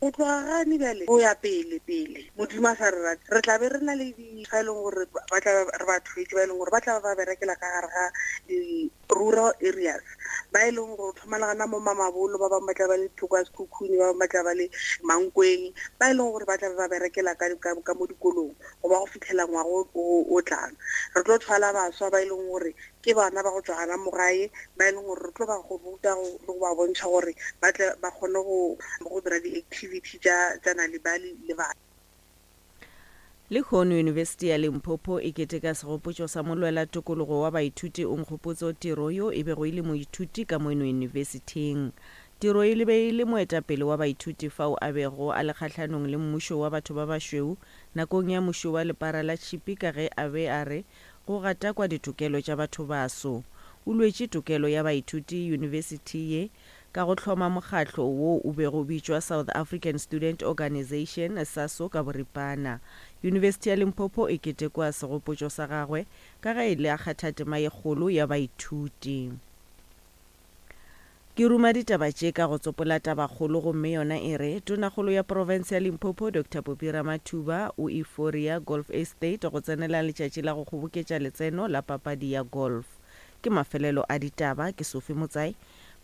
Go tloga gane bjale go ya pele pele, Modimo a sa re rate, re tla be re na le di ba e leng gore ba tla re ba thwetše, ba e leng gore ba tla ba ba berekela ka gare ga di rural areas, ba e leng gore thoma le gana mo Mamabolo, ba bangwe ba tla ba le thoko ya Sekhukhune, ba bangwe ba tla ba le Mankweng, ba e leng gore ba tla be ba berekela ka, ka, ka mo dikolong go ba go fitlhela ngwaga o, o tlang. Re tlo thwala baswa ba e leng gore Ke bana ba go tšwa gana mo gae ba e leng gore re tlo ba go ruta le go ba bontšha gore ba tle ba kgone go go dira di-activity tša tša Nal'ibali le bana. Lehono Yunibesithi ya Limpopo e keteka segopotšo sa molwela tokologo wa baithuti Onkgopotso Tiro yo e bego e le moithuti ka mono yunibesithing. Tiro e be e le moetapele wa baithuti fao a bego a le kgahlanong le mmušo wa batho ba bašweu nakong ya mušo wa lepara la tšhipi ka ge a be a re Go gatakwa ditokelo tša bathobaso. O lwetše tokelo ya baithuti yunibesithi ye ka go hloma mokgatlo wo o bego o bitšwa South African Student Organisation, SASO, ka boripana. Yunibesithi ya Limpopo e ketekwa segopotšo sa gagwe ka ge e le a kgatha tema ye kgolo ya baithuti. Ke ruma ditaba tše ka go tsopola tabakgolo gomme yona e re, Tonakgolo ya profense ya Limpopo Doctor Poppy Ramathuba o Euphoria Golf Estate go tsenela letšatši la go kgoboketša letseno la papadi ya golf. Ke mafelelo a ditaba, ke Sophie Motsai.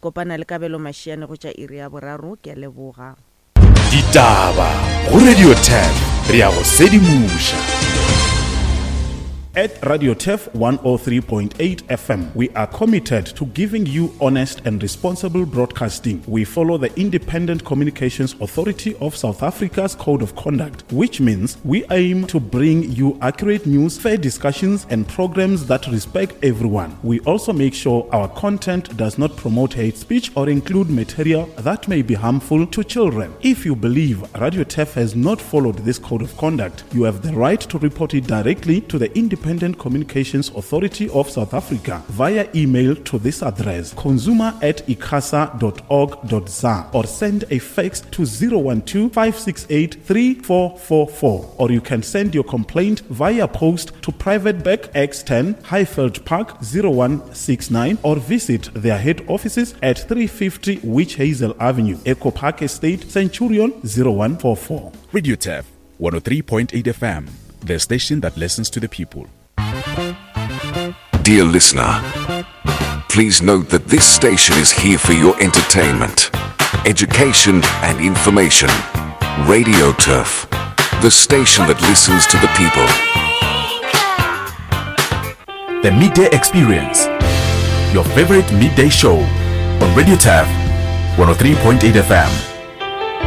Kopana le Kabelo Mashiane go tša iri ya boraro. Ke a leboga. Ditaba go Radio Turf re a go sedimoša. At Radio Turf 103.8 FM, we are committed to giving you honest and responsible broadcasting. We follow the Independent Communications Authority of South Africa's Code of Conduct, which means we aim to bring you accurate news, fair discussions, and programs that respect everyone. We also make sure our content does not promote hate speech or include material that may be harmful to children. If you believe Radio Turf has not followed this code of conduct, you have the right to report it directly to the Independent Communications Authority of South Africa via email to this address consumer at icasa.org.za or send a fax to 012 568 3444 or you can send your complaint via post to Private Bank X10 Highveld Park 0169 or visit their head offices at 350 Witch Hazel Avenue, Echo Park Estate, Centurion 0144. Radio Turf 103.8 FM, the station that listens to the people. Dear listener, please note that this station is here for your entertainment, education, and information. Radio Turf, the station that listens to the people. The Midday Experience, your favorite midday show on Radio Turf 103.8 FM.